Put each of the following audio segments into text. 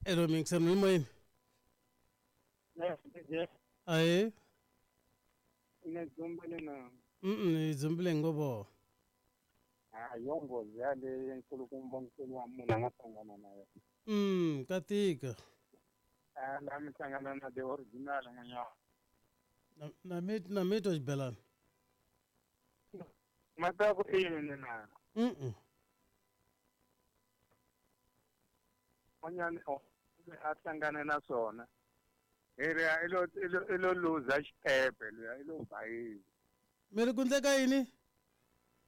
Elo mixer mi moyeni. Aye. Ine dzumbele na. Hi dzumbile ngopfu. A yo nghozi yaleyo nkulukumba nkulu wa munhu a nga hlangana na yona. Ka tika. A la mi hlangana na the original n'wanyana. Na mi na mi twa xibelana. Ma ta ku yini na? N'wanyana a hlangane na swona. Hi ri i lo luza xitepe luya i lo bayiza. Mi ri ku ndleka yini?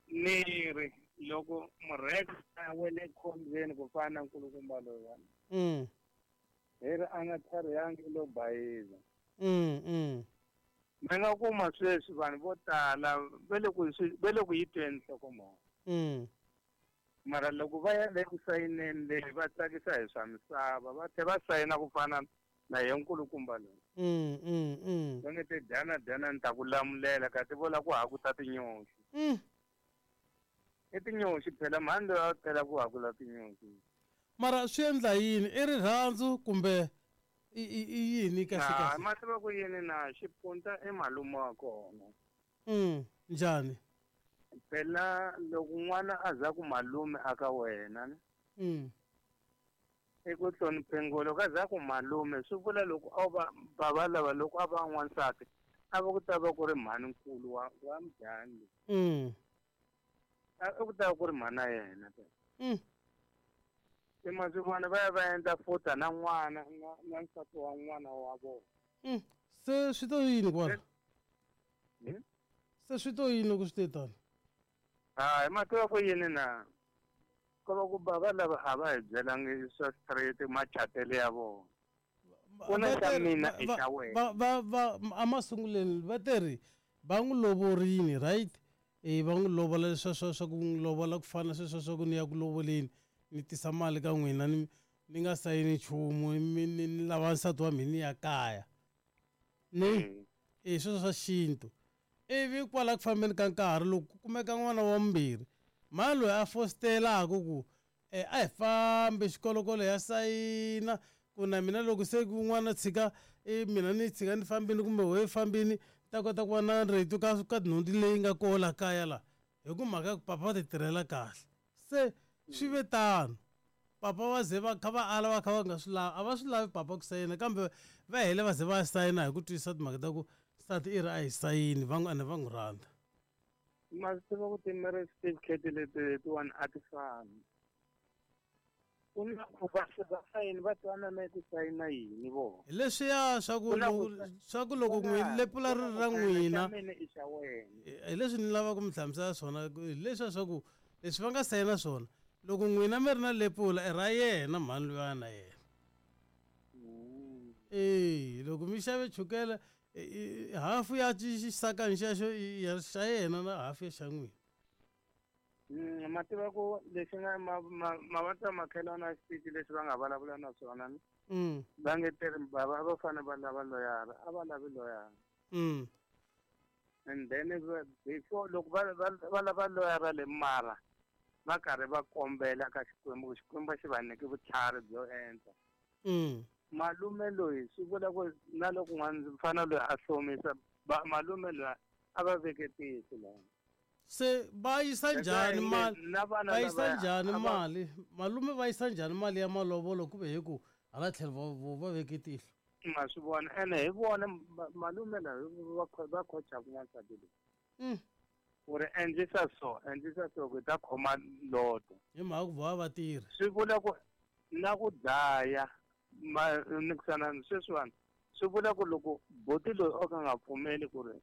Ni ri loko murheka a wele khombyeni ku fana na nkulukumba loyiwani. Hi ri a nga tlharihangi i lo bayiza. Mi nga kuma sweswi vanhu vo tala va le ku yi tweni nhlokomhaka. Mara loko va ya le ku sayineni leyi va tsakisa hi swa misava va tlhela va sayina ku fana na ye nkulukumba loyi. Va nge te dyana dyana ni ta ku lamulela kasi vo lava ku hakuta tinyoxi. I tinyoxi phela mhani loyi a tela ku hakula tinyoxi. Mara swi endla yini? I rirhandzu kumbe i yini kahle kahle? Ma tiva ku yini na xipunta i malume wa kona. Njhani? Phela loko n'wana a za ku malume aka wena. I ku hlonipheni loko a za ku malume swi vula loko a va bava lava loko a va n'wansati a va ku ta va ku ri mhani nkulu wa mudyangi. A ku ta va ku ri mhana yena. Se maswivona va ya va endla futa na n'wana na nsati wa n'wana wa vona. Se swi to yini kwala? Se swi to yini loko swi te tano? Hayi ma tiva ku yini na? Ko va ku bava lava a va hi byelangi swa straight machatele ya vona. Ku na xa mina i xa wena. Va emasunguleni va te ri va n'wi lovorini, right? Va n'wi lovola leswa swa ku n'wi lovola ku fana sweswo swa ku ni ya ku lovoleni ni tisa mali ka n'wina ni ni nga sayini nchumu ni lava nsati wa mina ni ya kaya. Ni sweswo swa xintu. Ivi kwala ku fambeni ka nkarhi loko ku kumeka n'wana wa vumbirhi mhani loyi a fositelaka ku a hi fambi xikolokolo ya sayina ku na mina loko se n'wana tshika mina ni tshika ni fambini kumbe wehe fambini ta kota ku va na rito ka nhundzu leyi nga koho la kaya la hi ku mhaka ya ku papa va ti tirhela kahle. Se swi ve tano papa va ze va kha va ala va kha va nga swi lavi a va swi lavi papa ku sayina kambe va hele va ze va sayina hi ku twisisa timhaka ta ku nsati i ri a hi sayini va ene va n'wi rhandza. Ma swi tiva ku ti-marriage certificate leti letiwani a ti fani. Ku na ku va va sayini va twanana ku sayina yini vona. Hi leswiya swa ku swa ku loko n'wi lepula ri ra n'wina hi leswi ni lavaka ku mi hlamusela swona hi leswiya swa ku leswi va nga sayina swona loko n'wina mi ri na lepula i ra yena mhani luya na yena. Loko mi xave chukele hafu ya xisakani xexo xa yena na hafu ya xa n'wina. Ma tiva ku lexi nga mavabyi ya makhelwani ya xitichi lexi va nga vulavula na swona va nge teri bava va fanele va lava loyara a va lavi loyara. And then before loko va lava loyara le mara va karhi va kombela ka Xikwembu Xikwembu xi va nyike vutlhari byo endla. Malume loyi swi vula ku na loko n'wana mfana loyi a hlomisa malume loyi a va veke tihlo laha. Se va yisa njhani mali va yisa njhani mali malume va yisa njhani mali ya malovolo ku ve hi ku hala tlhelo va veke tihlo. Ma swi vona ene hi vona malume lava va khochaka n'wansati loyi. Ku ri endlisa so ku ta khoma loto. Hi mhaka ku va va tirhi. Swi vula ku na ku dlaya nikisana sweswiwani swi vula ku loko boti loyi o ka nga pfumeli ku ri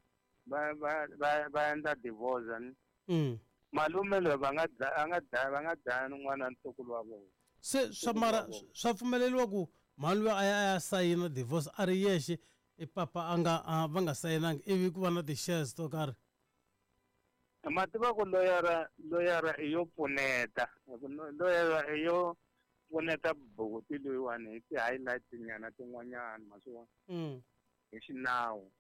va endla divorce ni malume loyi va nga dlaya n'wana ntukulu wa vona. Se swa mara swa pfumeleriwa ku mhani loyi a ya sayina divorce a ri yexe i papa a nga va nga sayinangi ivi ku va na ti-shares to karhi. Ma tiva ku loyara i yo pfuneta loyara i yo pfuneta buti loyiwani hi ti-highlight nyana tin'wanyana ma swi vona hi xinawu.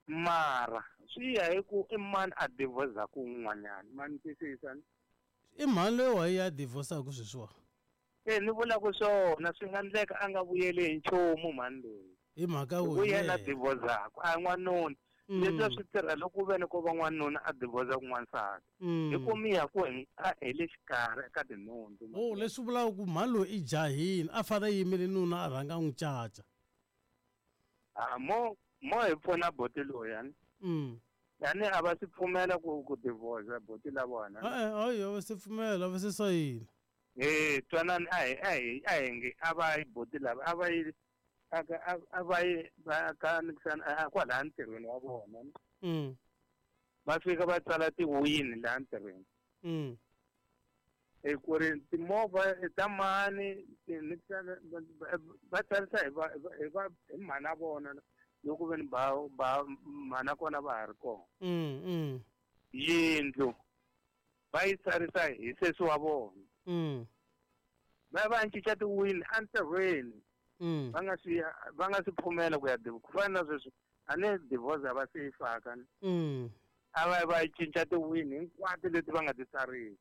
Mara swi ya hi ku i mani a divorce-aku un'wanyana ma ni twisisa. I mhani loyi wa ya divorce-aku sweswiwa. Ni vula ku swona swi nga endleka a nga vuyeli hi nchumu mhani loyi. Hi mhaka ku yena divorce-aku a n'wanuna. Leswi swi tirha loko ku ve ni ko va n'wanuna a divorce ku n'wansati. Hi ku mi ya ku hi le xikarhi ka tinhundzu. Oh, leswi vulaka ku mhani loyi i jahile a fanele a yimele nuna a rhanga n'wi caca. A mo hi pfuna boti loyi. Yani a va swi pfumela ku divorce boti la vona. Hayi a va se pfumela, a va se sayina. Twanani a hi nge a va yi boti lava a va yi a va yi va ka kwalaya ntirhweni wa vona. Va fika va tsala tiwini laha ntirhweni. Ku ri timovha ta mani va tsarisa hi mhana vona loko ve ni ba mhana kona va ha ri kona. Yindlu va yi tsarisa hi sesi wa vona. Va cinca tiwini entirhweni. Va nga swi pfumela ku ya ku fana na sweswi a ni divorce a va se yi faka. A va cinca tiwini hinkwato leti va nga ti tsarisa.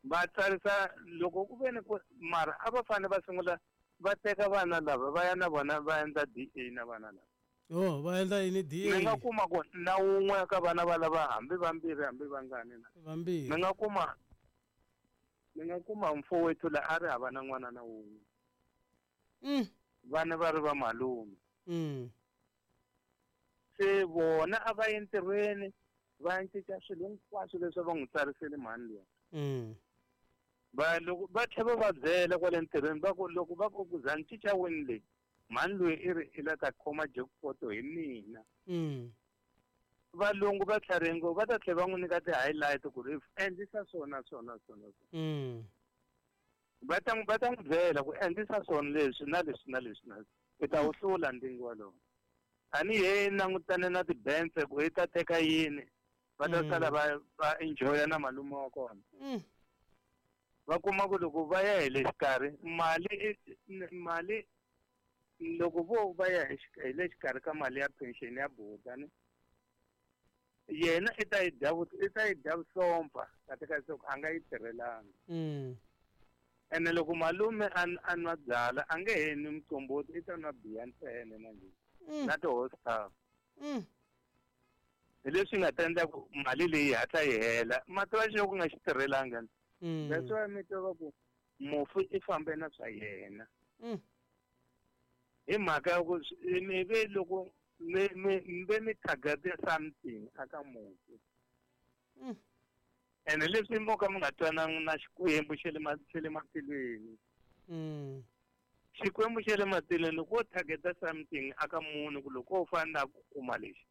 Va tsarisa loko ku ve ni ku mara a va fanele va sungula va teka vana lava va ya na vona va endla DA na vana lava. Oh, va endla yini DA? Mi nga kuma ku na wun'we ka vana va lava hambi vambirhi hambi vangani na. Vambirhi. Mi nga kuma mfowethu la a ri hava na n'wana na wun'we. Vana va ri va malume. Se vona a va entirhweni va cinca swilo hinkwaswo leswi va n'wi tsarisele mhani luya. Va loko va tlhela va byela kwale ntirhweni va ku loko va ku za ni cinca wini leyi mhani loyi i ri i la ta khoma jackpot hi mina. Valungu va tlharihe ngopfu va ta tlhela va n'wi nyika ti-highlight ku ri endlisa swona swona swona. Va ta n'wi byela ku endlisa swona leswi na leswi na leswi na leswi. I ta wu hlula ndzingo wolowo. A ni he langutane na tibense ku i ta teka yini va ta sala va enjoya na malume wa kona. Va kuma ku loko va ya hi le xikarhi mali loko vo va ya hi le xikarhi ka mali ya pension ya buta ni yena i ta yi dya vusompfa kahle kahle a nga yi tirhelanga. Ene loko malume a nwa byala a nge he nwi muqombhoti i ta nwa biya ntsena manje na ti-horsepower. Hi leswi nga ta endla ku mali leyi hatla yi hela mati va xo ku nga xi tirhelanga. That's why mi twa va ku mufi i fambe na swa yena. Hi mhaka ya ku mi ve loko mi ve mi target something aka mufi. Ene leswi mo ka mi nga twanangi na Xikwembu xa le matilweni. Xikwembu xa le matilweni loko wo targeta something aka munhu ku loko wo fana ku kuma lexi.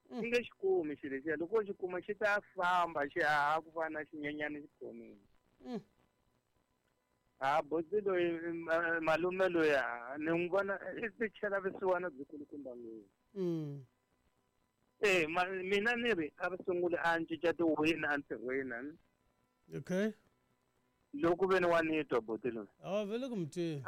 Xi nge xi kumi xilo lexiya loko xi kuma xi ta famba xi haha ku fana na xinyenyana xi khomile. Ha boti loyi malume loyi ni n'wi vona i ti chela vusiwana byikulukumba ngopfu. Mina ni ri a va sungule a cinca tiwini entirhweni. Okay. Loko ve ni wa ni twa boti loyi. A vele ku mutweni.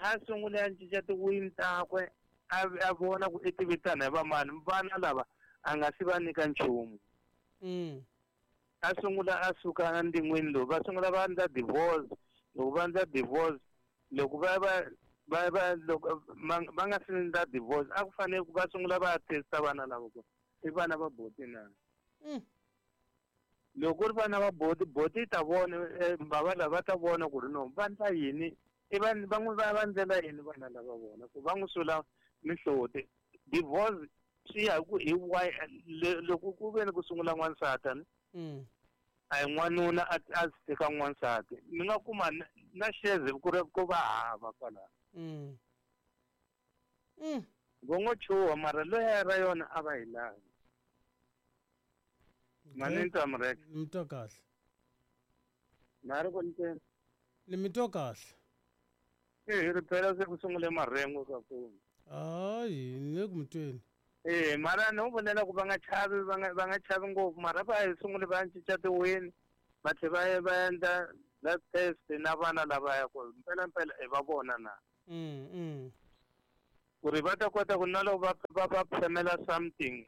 A sungule a cinca tiwini takwe a vona ku i ti vitana hi vamani vana lava a nga si va nyika nchumu. A sungula a suka endyangwini lowu va sungula va endla divorce loko va endla divorce loko va loko va nga si endla divorce a ku fanele ku va sungula va testa vana lava ku i vana va boti na. Loko ku ri vana va boti boti yi ta vona bava lava va ta vona ku ri no va endla yini i va n'wi va ndlela yini vana lava vona ku va n'wi sula mihloti. Divorce swi ya hi ku hi why loko ku ve ni ku sungula n'wansati a hi n'wanuna a teka n'wansati mi nga kuma na xeze ku ri ku va hava kwalaho. Vo ngo chuha mara loyi ra yona a va hi lavi. Mani ni twa mureke. Ni twa kahle. Na ri ku ntsena. Ni mi twa kahle. Hi ri phela se ku sungule marhengu ka foni. Hayi ni le ku mi tweni. Mara ni vulela ku va nga chavi va nga chavi ngopfu mara va hi sungule va cinca tiwini va tlhela va endla blood test na vana lava ya ku mpela mpela i va vona na. Ku ri va ta kota ku na loko va phemela something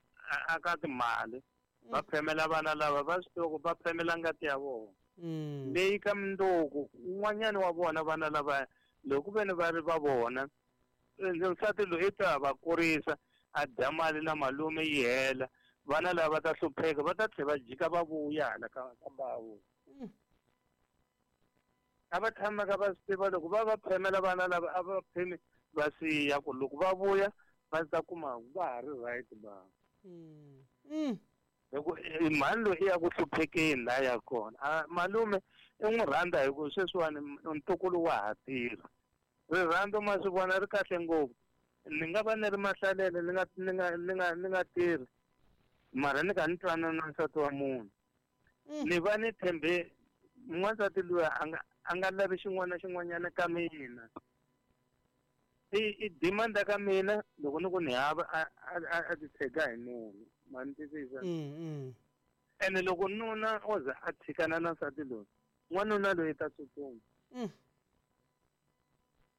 a ka timali va phemela vana lava va swi tiva ku va phemela ngati ya vona. Leyi ka mundzuku un'wanyana wa vona vana lava loko ku ve ni va ri va vona nsati loyi i ta va kurisa a dya mali na malume yi hela vana lava va ta hlupheka va ta tlhela va jika va vuya hala ka mbawu. A va tshamaka va swi tiva loko va va phemela vana lava a va phemi va siya ku loko va vuya va ta kuma va ha ri right va. Hi ku mhani loyi i ya ku hluphekeni laha ya kona. Malume i n'wi rhandza hi ku sweswiwani ntukulu wa ha tirha. Rirhandzu ma swi vona ri kahle ngopfu. Ni nga va ni ri mahlalele ni nga ni nga ni nga ni nga tirhi mara ni kha ni twanana na nsati wa munhu. Ni va ni tshembe n'wansati luya a nga lavi xin'wana na xin'wanyana ka mina. I demand ka mina loko ni ku ni hava a titshega hi nuna. Ma ni twisisa? Ene loko nuna o za a tshikana na nsati loyi, n'wanuna loyi ta tsutsuma.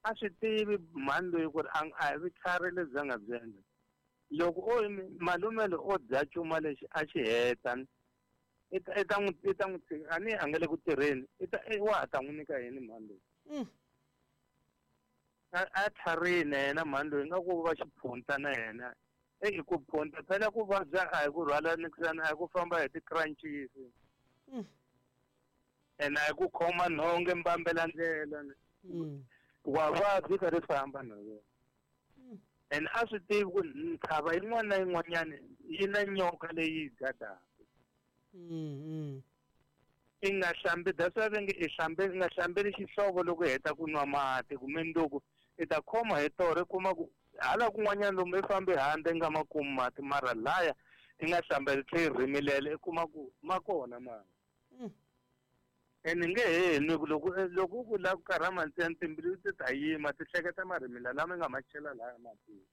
A swi tivi mhani loyi ku ri a hi vutlhari lebyi a nga byi endla. Loko o malume loyi o dya cuma lexi a xi heta i ta n'wi tshika a ni a nga le ku tirheni i ta wa ha ta n'wi nyika yini mhani loyi. A tlharini na yena mhani loyi nga ku va xiphunta na yena. I ku phunta phela ku vabya a hi ku rhwala nikisana a hi ku famba hi ti-crunches. Ene a hi ku khoma nhonge mbambela ndlela. Wa vabya i karhi famba na yena. Ene a swi tivi ku ntshava yin'wana na yin'wanyana yi na nyoka leyi yi gadaka. I nga hlambi that's why va nge i hlambe i nga hlambeli xihlovo loko i heta ku nwa mati kumbe nduku i ta khoma hi torha i kuma ku hala kun'wanyana lomu i fambe handle i nga ma kumi mati mara laya i nga hlambeli tlhe i rhimilela i kuma ku ma kona mati. Ene nge he nwi ku loko ku lava ku karhama ntsena timbilu ti ta yima ti hleketa marhimila lama i nga ma chela laya matini.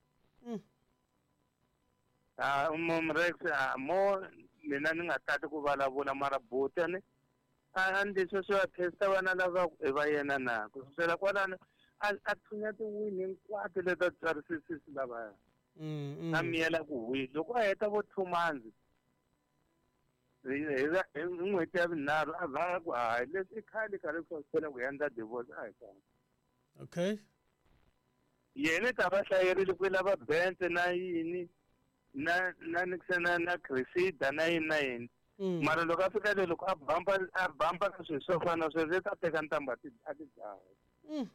Mrex mo mina ni nga tati ku vulavula mara buti ni a ndzi sweswi va testa vana lava i va yena na ku susela kwalano a thunya tiwini hinkwato leti a tswarisisisi lavaya. A miyela ku hwi loko a heta vo 2 months hi n'hweti ya vunharhu a vhaka ku hayi leswi i khale karhi ku fela ku endla divorce a hi kona. Okay. Yena ta va hlayerile ku lava Benz na yini na na na na Cressida na yini na yini. Mara loko a fika le loko a bamba ka swilo swo fana na sweswo i ta teka ntambu a ti dlaya.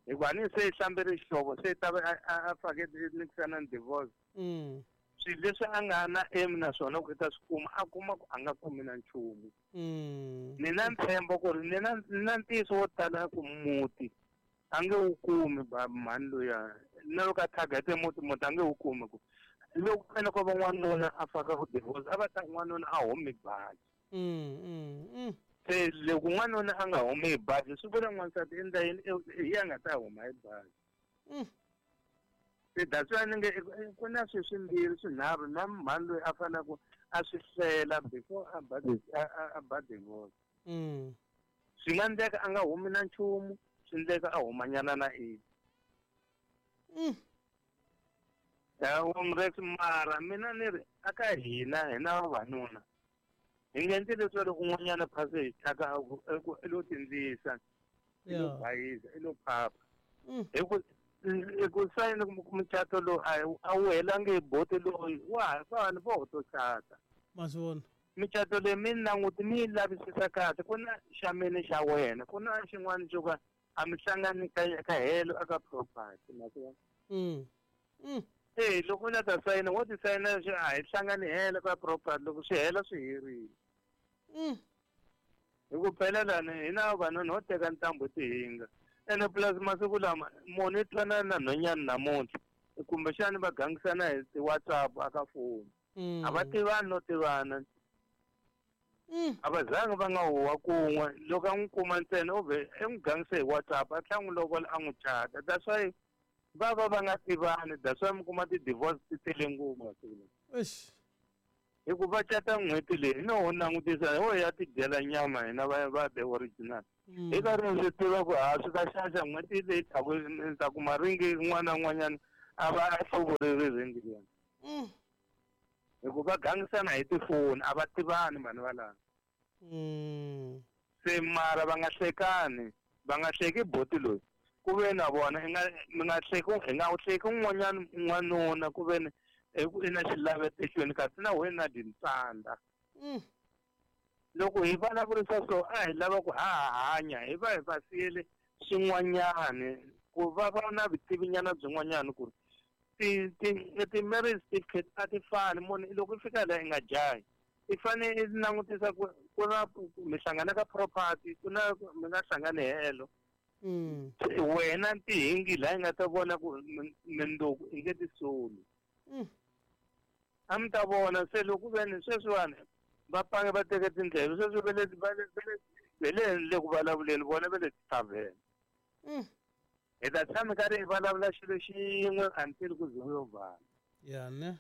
Hikuva ni se hlambele xihlovo se ta va a fake nikisana ni divorce. Swilo leswi a nga na aim na swona ku i ta swi kuma a kuma ku a nga kumi na nchumu. Ni na ntshembo ku ri ni na ntiyiso wo tala ku muti a nge wu kumi mhani luya na loko a target muti a nge wu kumi ku loko ene ko va n'wanuna a faka ku divorce a va ta n'wanuna a humi baji. Se loko n'wanuna a nga humi hi baji swi vula n'wansati endla yini hi ya nga ta huma hi baji. Se that's why ni nge ku na swilo swimbirhi swinharhu na mhani loyi a fanele ku a swi hlela before a ba divorce. Swi nga endleka a nga humi na nchumu, swi endleka a humanyana na ini. Mrex mara mina ni ri aka hina vavanuna hi nga endli leswi loko un'wanyana phase hi thyaka i lo tindzisa i lo bayisa i lo phapha. Hi ku sayina mucato lowu a wu helangi hi boti loyi wa vanhu vo to cata. Ma swi vona micato leyi mi languti mi yi lavisisa kahle ku na xa mina xa wena ku na xin'wana xo ka a mi hlangani ka helo aka property ma swi vona. Loko u la ta sayina wo ti sayina a hi hlangani helo ka property loko swi hela swi herile. Hi ku phela lani hina vanhu ho teka ntambu tihinga. Ene plus masiku lama munhu i twanana na nhwanyana namuntlha kumbexani va gangisana hi ti-WhatsApp aka foni. A va tivani no tivana. A va zangi va nga huwa kun'we loko a n'wi kuma ntsena u vhe i n'wi gangise hi WhatsApp a tlhela n'wi lovola a n'wi chata. That's why va va nga tivani, that's why mi kuma ti-divorce ti tele ngopfu masiku lawa. Hi ku va cata n'hweti leyi no ho langutisa ho ya tidyela nyama hina va the original. Hi karhi swi tiva ku ha swi ta xaxa n'hweti leyi taku ni ta kuma ringi un'wana na un'wanyana a va a hluvurile ringi liya. Hi ku va gangisana hi tifoni a va tivani vanhu valava. Se mara va nga hlekani, va nga hleki boti loyi. Ku ve na vona i nga mi nga hleki hi nga hleki un'wanyana n'wanuna ku ve ni i na xilavetehlweni kasi na wena na tintsanda. Loko hi vulavurisa so a hi lava ku ha hanya hi va hi va siyele swin'wanyani ku va va na vutivinyana byin'wanyana ku ri ti-marriage certificate a ti fani. Munhu loko i fika laha i nga jahi, i fanele i langutisa ku ku na mi hlangana ka property, ku na mi nga hlangani helo. Wena tihingi laha i nga ta vona ku mindzuku i nge ti soli. A mi ta vona se loko ve ni sweswiwani va pange va teke tindleve sweswi va le va le va le le ku vulavuleni vona va le tithavheni. Hi ta tshama karhi hi vulavula xilo xin'we until ku ze ku yo vala. Ya ne.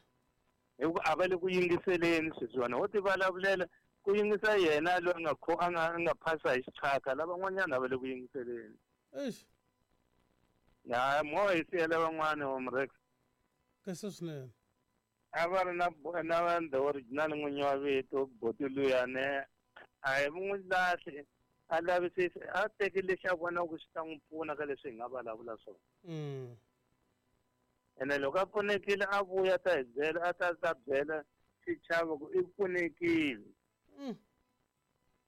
Hikuva a va le ku yingiseleni sweswiwani, ho ti vulavulela ku yingisa yena loyi a nga kho a nga a nga phasa hi xiqhaka, lavan'wanyana a va le ku yingiseleni. Eish. Ya mo hi siyela van'wani Omrex. Kahle swinene. A va ri na na the original n'winyi wa vito boti luyani a hi n'wi lahli, a lavisisi a teki lexi a vonaka ku xi ta n'wi pfuna ka leswi hi nga vulavula swona. Ene loko a pfunekile a vuya ta hi byela, a ta ta byela xichavo ku i pfunekile.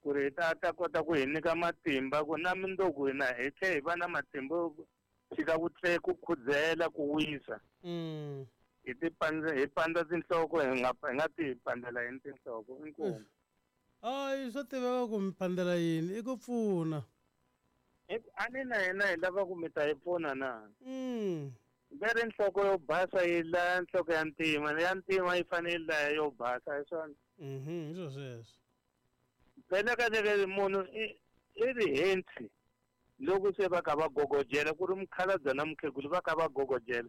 Ku ri hi ta kota ku hi nyika matimba ku na mundzuku hina hi tlhe hi va na matimba yo tshika ku tle ku khudzela ku wisa. Hi ti pandza, hi pandza tinhloko, hi nga hi nga ti pandzela yini tinhloko, inkomu. Hayi, swa tiveka ku mi pandzela yini, i ku pfuna. A ni na hina hi lava ku mi ta hi pfuna na? Ve ri nhloko yo basa yi laya nhloko ya ntima, ya ntima yi fanele yi laya yo basa, hi swona? Hi swo sweswo. Phela ka leke munhu i ri hensi loko se va ka va gogojela ku ri mukhalabye na mukhegulu va ka va gogojela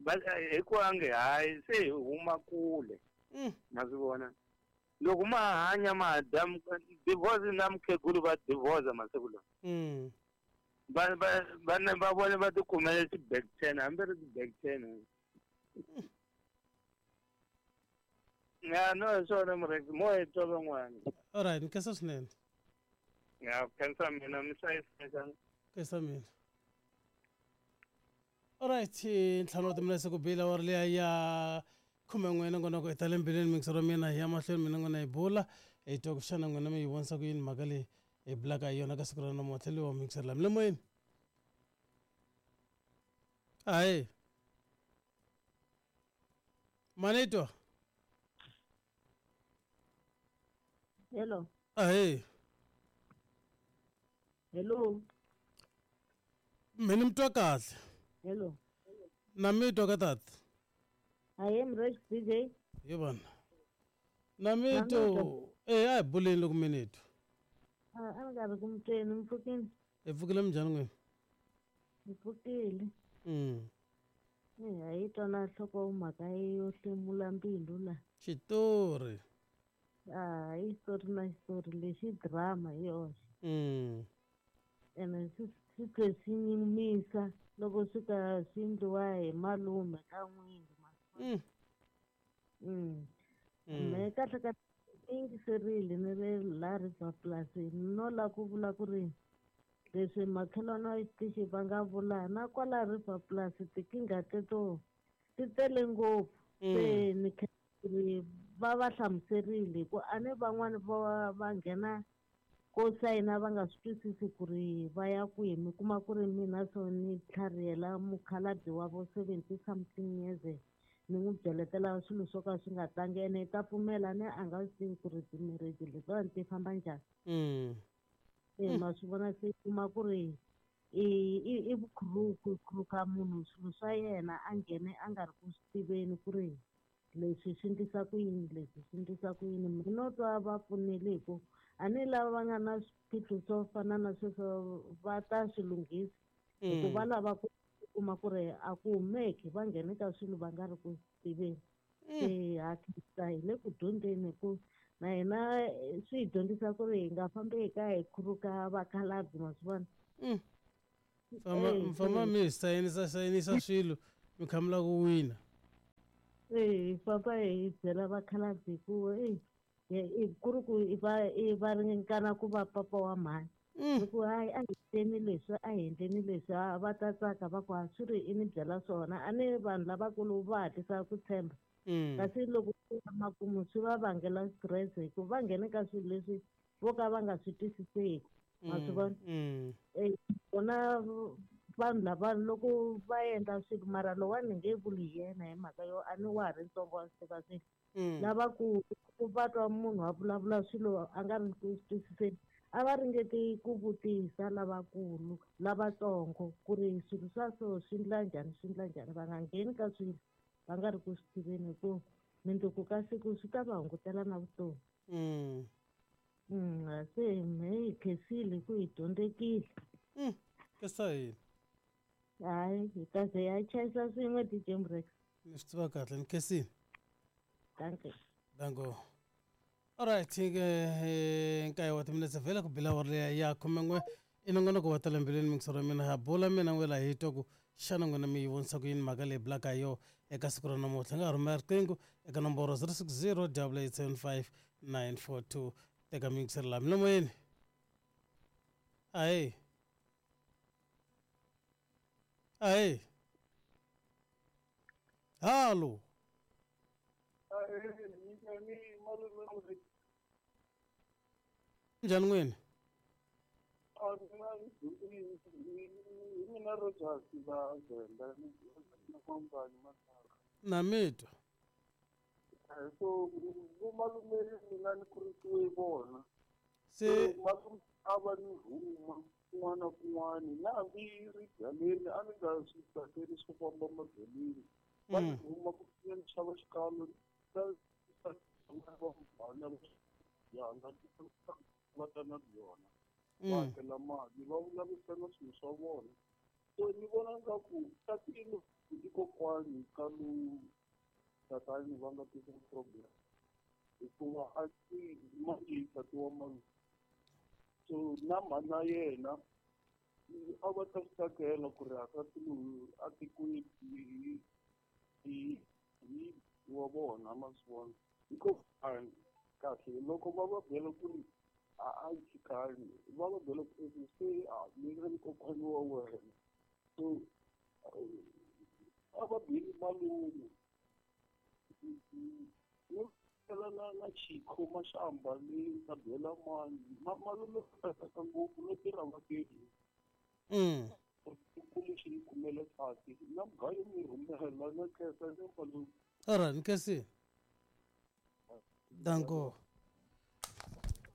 va hi ku a nge hayi se hi huma kule. Ma swi vona? Loko ma hanya ma dya divorce na mukhegulu va divorce masiku lawa. Va va va va vona va tikumela ti-back ten, hambi ri ti-back ten. Ya, no, hi swona Murex, mo hi twa van'wana. All right, ni khensa swinene. Ya, khensa mina, mi hlayiseka. Khensa mina. All right, ntlhanu wa timinetse ku bile awara liya ya 11 nongonoko hi ta le mbilwini mixo ra mina hi ya mahlweni mina n'wina hi bula hi twa ku xana n'wina mi yi vonisa ku yini mhaka leyi hi bulaka hi yona ka siku ra namuntlha leyi wa mixer la mi le moyeni. Hayi. Manitwa. Hello. Ahee. Hello. Mina mi twa kahle. Hello. Na mi twa ka tata. I am Rich DJ. Hi vona. Na mi to a hi buleni loko mi ni twa. A ni nga ri ku mi tweni, mi pfukile. Hi pfukile minjhani n'wina? Hi pfukile. A yi twa na nhloko mhaka yo hlemula mbilu la. Xitori. A yi xitori na xitori lexi drama hi yoxe. Ene swi tlhe swi nyumisa loko swi ka swi endliwa hi malume ka n'wingi. Me kahle kahle yingiserile ni ri la River Plus no la ku vula ku ri leswi makhelwani wa xitichi va nga vula na kwala River Plus tinkingha teto ti tele ngopfu. Se ni ri va va hlamuserile ku a ni van'wani va va nghena ko sayina va nga swi twisisi ku ri va ya kwihi, mi kuma ku ri mina so ni tlharihela mukhalabye wa vo 70 something years ni n'wi byeletela swilo swo ka swi nga tlangi ene i ta pfumela ne a nga swi tivi ku ri timarriage letiwani ti famba njhani. Ma swi vona se kuma ku ri i vukhuruku khuruka munhu swilo swa yena a nghene a nga ri ku swi tiveni ku ri leswi swi endlisa ku yini, leswi swi endlisa ku yini. Mina no twa va pfunile hi ku a ni lava va nga na swiphiqo swo fana na sweswo va ta swi lunghisa hi ku va lava ku kuma ku ri a ku humeki va nghene ka swilo va nga ri ku tiveni. Se ha khensa hi le ku dyondzeni hi ku na hina swi hi dyondzisa ku ri hi nga fambi hi ka hi khuruka vakhalabye, ma swi vona. Mi famba mi sayinisa sayinisa swilo mi kha mi lava ku wina. Hi famba hi byela vakhalabye ku Ku ri ku i va i va ringana ku va papa wa mhani. Ni ku hayi a hi endleni leswi a hi endleni leswi a va ta tsaka va ku a swi ri i ni byela swona a ni vanhu lavakulu va hatlisa ku tshemba. Kasi loko ku ya makumu swi va vangela stress hi ku va nghene ka swilo leswi vo ka va nga swi twisiseki. Ma swi vona? Vona vanhu lava loko va endla swilo mara lowani ni nge vuli hi yena hi mhaka yo a ni wa ha ri ntsongo wa swi tiva swilo. Lavakulu va twa munhu a vulavula swilo a nga ri ku swi twisiseni a va ringeti ku vutisa lavakulu lavatsongo ku ri swilo swa so swi endla njhani swi endla njhani va nga ngheni ka swilo va nga ri ku swi tiveni hi ku mindzuku ka siku swi ta va hungutela na vutomi. Se me hi khensile ku hi dyondzekile. Khensa yini? Hayi hi ta ze ya chayisa swin'we DJ Mrex. Ni swi tiva kahle ni khensile. Dankie. Danko. Alright ke nkaye wa timinetse vhela ku bila awara leya ya 11 i nongonoko wa tala mbilwini mingisoro ya mina ha bula mina n'wela hi twa ku xana n'wina mi yi vonisa ku yini mhaka leyi bulaka hi yona eka siku ra namuntlha nga ha rhumela riqingho eka nomboro 060 875 942 teka miyingiselo laha milomoyeni ahee ahee halo. Njhani n'wini? Na mi twa. So vo malume mina ni kurisiwe vona. Se malume a va ni rhuma kun'wana na kun'wana na hambi ri byaleni a ni nga swi tsakeli swo famba mabyaleni. Va ni rhuma ku ya ni xava xikalo va ta na byona. Va hakela mali va vulavurisana swilo swa vona. So ni vona nga ku tatini i kokwani ka lowu tatani va nga tisa problem hikuva a ti manje tati wa malume. So na mhana yena a va ta swi tsakela ku ri hakati loyi a tikweni hi wa vona ma swi vona. Hikokwani kahle loko va va byela ku ri a yi tshikani va va byela ku se a ni ri kokwani wa wena. So a va byeli malume. Na na Chikho Mashamba ni ta byela mani malume tsaka ngopfu no tirha va tirhi. Ku xi ni kumela nsati na mugayo mi rhumela na khensa ni malume. Alright, ni khensile. Danko.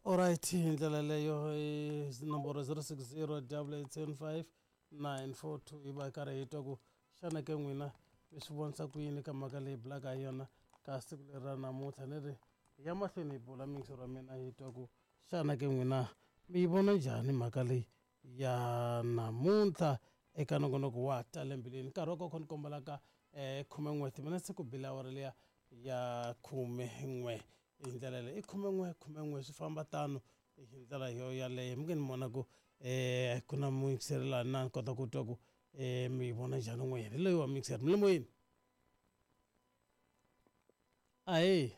Alright, hi ndlela leyo i nomboro 060 875 942 yi va karhi hi twa ku xana ke n'wina mi swi vonisa ku yini ka mhaka leyi bulaka hi yona ka siku leri ra namuntlha ni ri ya mahlweni hi bula miyingisero wa mina hi twa ku xana ke n'wina mi yi vona njhani mhaka leyi ya namuntlha eka nongonoko wa tala mbilwini nkarhi wa koko ni kombelaka 11 timinetse ku bila awara liya ya 11 hi ndlela leyi i 11 11 swi famba tano hi ndlela yo yaleyo mi nge ni vona ku ku na muyingiseri laha na ni kota ku twa ku mi yi vona njhani n'wina hi loyi wa muyingiseri mi le moyeni. Ahee.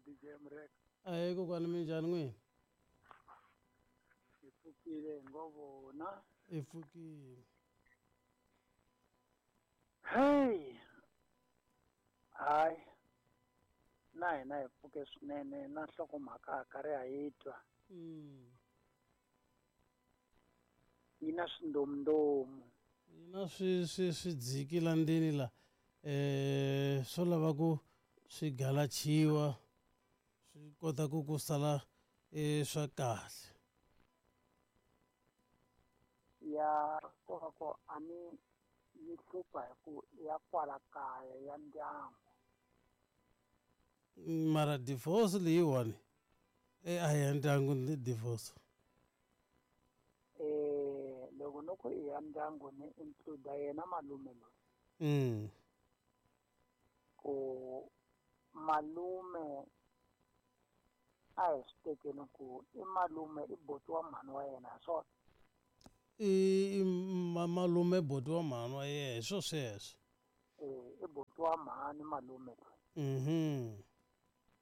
DJ Mrek. Ahee kokwani mi njhani n'wina? Hi pfukile hi ngo vona. Hi pfukile. Hey. Hayi. Na hina hi pfuke swinene na nhlokomhaka karhi ha yi twa. Yi na swindomundomu. Yi na swidziki la ndzeni la swo lava ku swi galachiwa swi kota ku ku sala swa kahle. Ya kova ku a ni yi hlupha hi ku ya kwala kaya ya ndyangu. Mara divorce leyiwani a ya ndyangu ni divorce. Loko no ku i ya ndyangu ni include yena malume loyi. Ku malume a hi swi tekeni ku i malume i boti wa mhani wa yena hi swona. I malume boti wa mhani wa yena hi swo sweswo. I boti wa mhani malume loyi.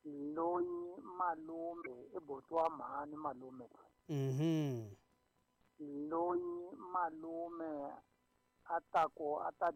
Loyi malume i buti wa mhani malume loyi. Loyi malume a ta ku a ta.